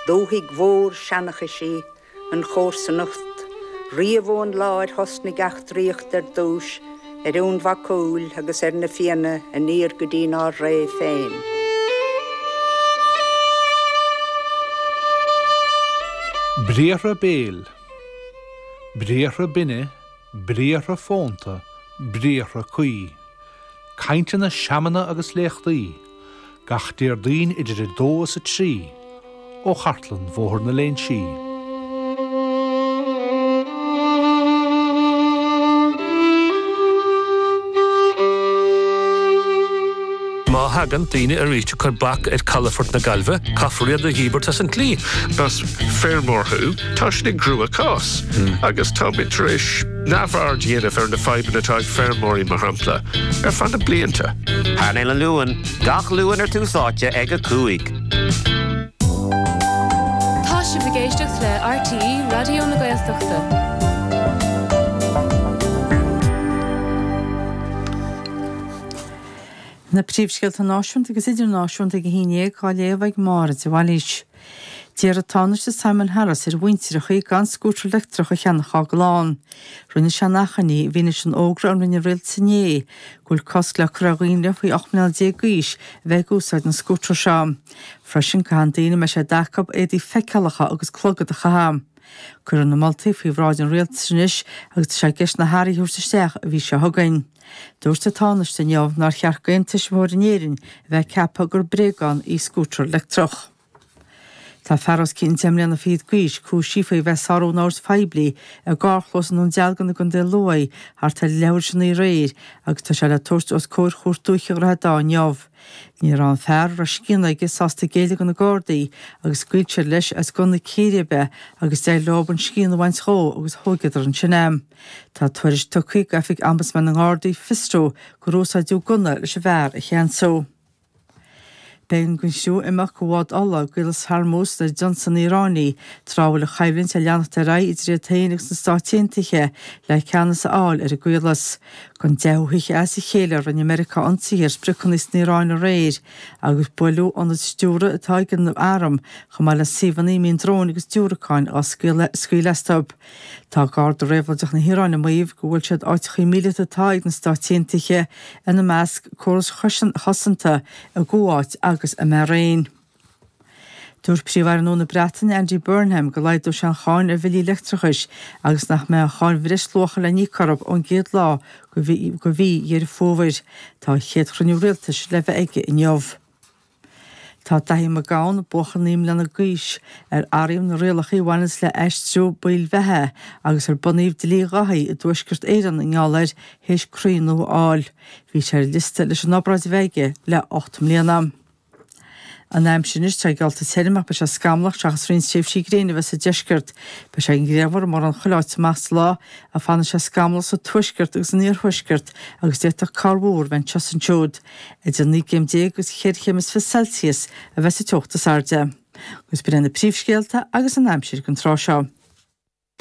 Dúthaigh mhór seanchais í an chomharsanacht, riamh ón lá ar thosnaigh eachtraíocht ar dtúis ar Fhionn Mhac Cumhaill agus ar na Fianna aniar go dtínár ré féin. Briathra béil, briathra binne, briathra fónta, briathra cuí. Cainteanna, seamanna agus léachtaí, gach Déardaoin idir 2 is 3, ó Chartlann Bhóthar na Léinsí. Má thagann daoine arís ag cur bac ar calafort na Gaillimhe, caithfear iad a dhíbirt as an tslí. Más feirmeoir thú, tá sin i gcrua-chás agus táimid tar éis neamhaird a dhéanamh ar na fadhbanna atá ag feirmeoirí, mar shampla, ar feadh na blianta. Painéal an Luain, gach Luan ar Tús Áite ag 5. Tá sibh ag éisteacht le RTÉ Raidió na Gaeltachta. Na príomhscéalta náisiúnta agus idirnáisiúnta ag a haon dhéag á léamh ag Máire de Bhailís. D'iarr an Tánaiste Simon Harris ar mhuintireachaí gan scútar leictreach a cheannach dá gclann. Rinne sé an achainí i bhfianaise an fhógra a rinne an rialtas inné go bhfuil cosc le cur ar dhaoine faoi 18 mbliana d'aois a bheith ag úsáid na scútar seo. Freisin caithfidh daoine a mbeidh sé d'acu éadaí feiceálacha agus clogad a chaitheamh. Cuireadh na moltaí faoi bhráid an rialtais anois agus tá sé i gceist na hathruithe a thabhairt isteach an mhí seo chugainn. Dúirt an Tánaiste inniu nár cheart d'aon tuismitheoir in Éirinn a bheith ag ceapadh gur bréagán í scútar leictreach. Tá fear os cionn deich mbliana fichead d'aois cúisithe faoi bheith ag sárú an oird phoiblí i gcarrchlós i nDún Dealgan i gContae Lú thart ar leathuair tar éis a naoi aréir agus tá sé le tabhairt os comhair Chúirt Dúiche Dhroichead Átha inniu. Ní raibh an fear, a raibh scian aige, sásta géilleadh do na Gardaí agus scaoil siad leis as gunna círéibe agus d'éirigh leo an scian a bhaint dhó agus thóigeadar ansin é. Tá tuairisc tugtha ag Oifig Ombudsman na nGardaí, Fiosrú, gur úsáideadh gunna leis an bhfear a cheansú. B'éigean don chriú imeacht go bhád ola i gCaolas Hormuz nuair a d'ionsaigh na hIoránaigh tráth a bhfuil an choimhlint ag leanacht ar aghaidh idir iad féin agus na Stáit Aontaithe le ceannas a fháil ar an gcaolas. Don deichiú hoíche as a chéile rinne Meiriceá ionsaithe ar spriocanna san Iaráin aréir agus buaileadh ionaid stiúrtha atá ag an arm chomh maith le suíomhanna a mbíonn dróin agus diúracáin á scaoileadh astu. Tá Garda Réabhlóideach na hIaráine ag maíomh go bhfuil siad áiteachaí míleata atá ag na Stáit Aontaithe, ina measc córais chosanta i gCuáit agus i mBairéin. Dúirt Príomh-Aire nua na Breataine, Andy Burnham, go laghdóidh sé an cháin ar bhillí leictreachais agus nach mbeidh an cháin bhreisluacha le n-íoc orthu ón gcéad lá de mhí Dheireadh Fómhair. Tá a chéad chruinniú rialtais le bheith aige inniu. Tá Daithí Mac Gabhann, buachaill 9 mbliana d'aois, ar athraíodh na rialacha a bhaineanns le aistriú baill bheatha agus ar bunaíodh dlí Dhaithí i dTuaisceart Éireann i ngeall air, théis croí nua a fháil. Bhí sé ar an liosta leis an obráid a bheith aige le 8 mbliana. An aimsir anois, tá geallta tirim ach beidh sé scamallach seachas roinnt tréimhsí gréine a bheith sa deisceart. Beidh sé grianmhar i mórán chuile áit amach sa lá ach fanfaidh sé scamallach sa tuaisceart agus san iarthuaisceart agus d'fhéadfadh corrmhúr bheith anseo is ansiúd. Idir 19 gcéim agus cheithre chéim is 20 Celsius a bheas an teocht is airde. Agus b'in iad na príomhscéalta agus an aimsir don tráth seo.